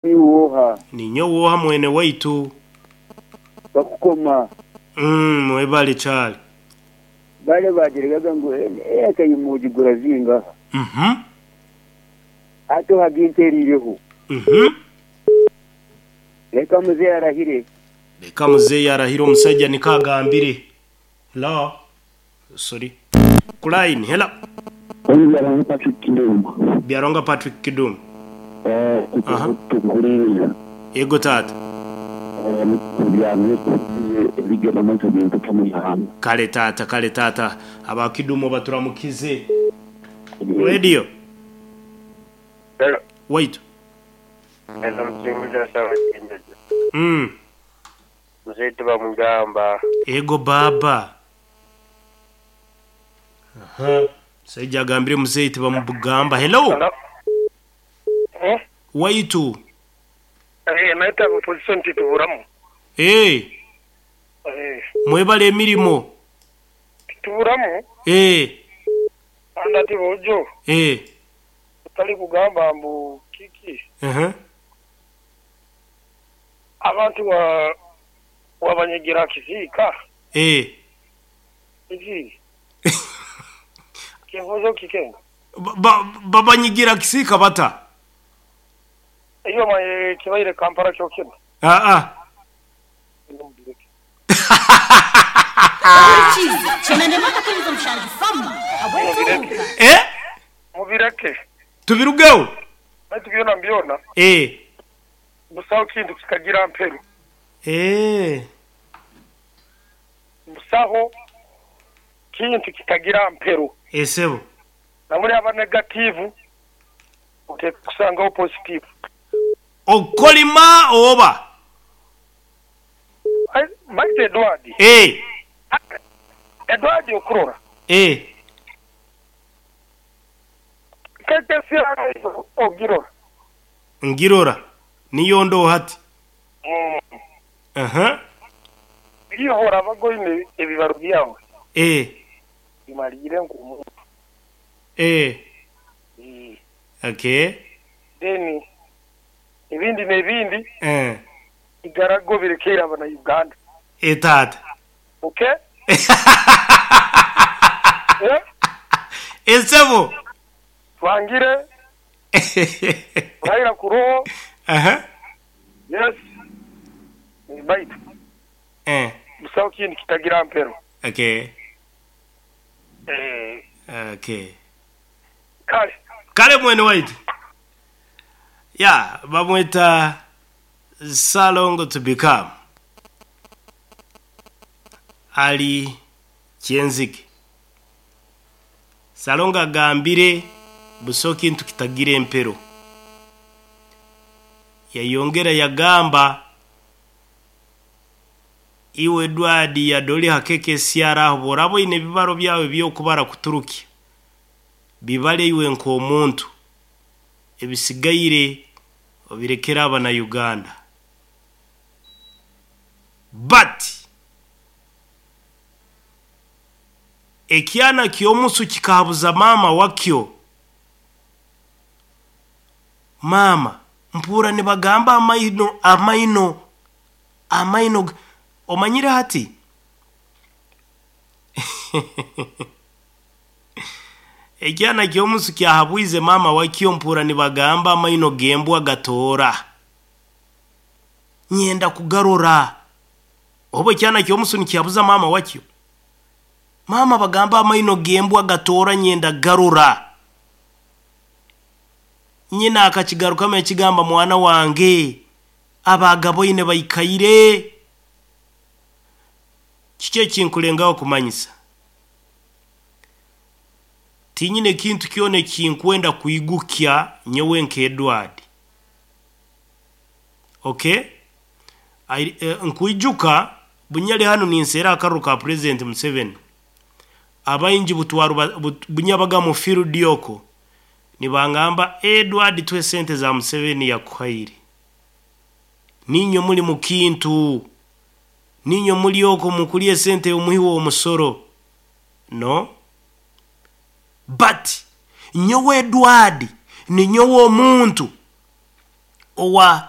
Niiwe oha? Ninyowe oha mwene waitu? Bakukoma. Umm mwebale kyali. Bale baagiregaga ngu eka imwe ogigura zingaha? Uhmm. Hati ohaga entereireho. Uhmm. Leka muzeeyi arahire. Leka muzeeyi arahire omusaija niko agambire. Hello. Sorry. Ku line. Hello. Ogu Byaruhanga Patrick Kidum. Byaruhanga Patrick Kidum. Aha. Tukuhuriire. Yego taata. Ebigenda omu bintu by'omu ihanga. Kale taata, kale taata. Aba Kidum baturamukize. Radio. Hello. Waitu. Eno musinguzi asaba kinjojo. Mzee tibamugamba. Ego baaba. Aha. Musaija agambire muzeeyi tibamugamba. Hello. Hello. Eh? Waitu. Eh, naita position tituburamu. Eh. Eh. Mwebale emirimo. Tituburamu. Eh. Anda ati bojo. Eh. Otali kugamba mbu kiki. Aha. Abantu wa wabanyigira kisiika. Eh. Kiki? Kinkoze kikenga. Babanyigira kisiika bata? Iyo maye kibaire Kampala kyokina. Aa. Eh? Mubireke. Tubirugeho? Baitu byona mbyona. Eh. Busaho kintu kikagira mperu. Eh. Busaho kintu kitagira mperu. Esebo. Namuri aba negative oteekwa kusangaho positive. Okolima oba? Baitu Edward. Eh. Edward okurora. Eh. Keke siara ogirora. Ngirora. Niyo ndo hati. Aha. Ihora abagoine ebibaro byawe. Eh. Bimalire nku. Eh. Okay. Then ebindi n'ebindi. Eh. Igarago birekeire abana Uganda. Eh taata. Okay? Eh? Esebo. Twangire. Raila kuroho. Aha. Yes. Baitu. Eh. Busaho kindi kitagira mpero. Okay. Eh. Okay. Kale. Kale mwene waitu. Ya, bamweta Salongo to become. Ali Kyenzike. Salongo agambire busaho kintu kitagira empero. Yayongera yagamba iwe Edward yadoli hakeke siara aho boraba oine ebibaro byawe by'okubara kuturukya bibare iwe nk'omuntu ebisigaire obirekere abana Uganda. But ekyana ky'omusu kikahabuza maama wakyo. Maama mpuura nibagamba amaino amaino amaino omanyire hati ekyana ky'omusu kyahabwize maama wakyo mpuura nibagamba amaino g'embwa gatoora. Nyenda kugarora. Obu ekyana ky'omusu nikihabuza maama wakyo. Maama bagamba amaino g'embwa gatoora nyenda garora. Nyina akakigarukamu yakigamba mwana wange abagaboine baikaire. Kiki ekinkulengaho kumanyisa? Tinyine kintu kyona ekinkwenda kwigukya nyowe nka Edward. Okay? Nkwijuka bunyali hanu ninseera akaruru ka President Museveni. Abaingi butwaru bunyabaga mu field oko nibangamba Edward twe sente za Museveni yakuhaire. Ninyo muri mu kintu. Ninyo muri oko mukulie sente omuhiwo omusoro. No. But nyowe Edward ni nyowe omuntu. Owa.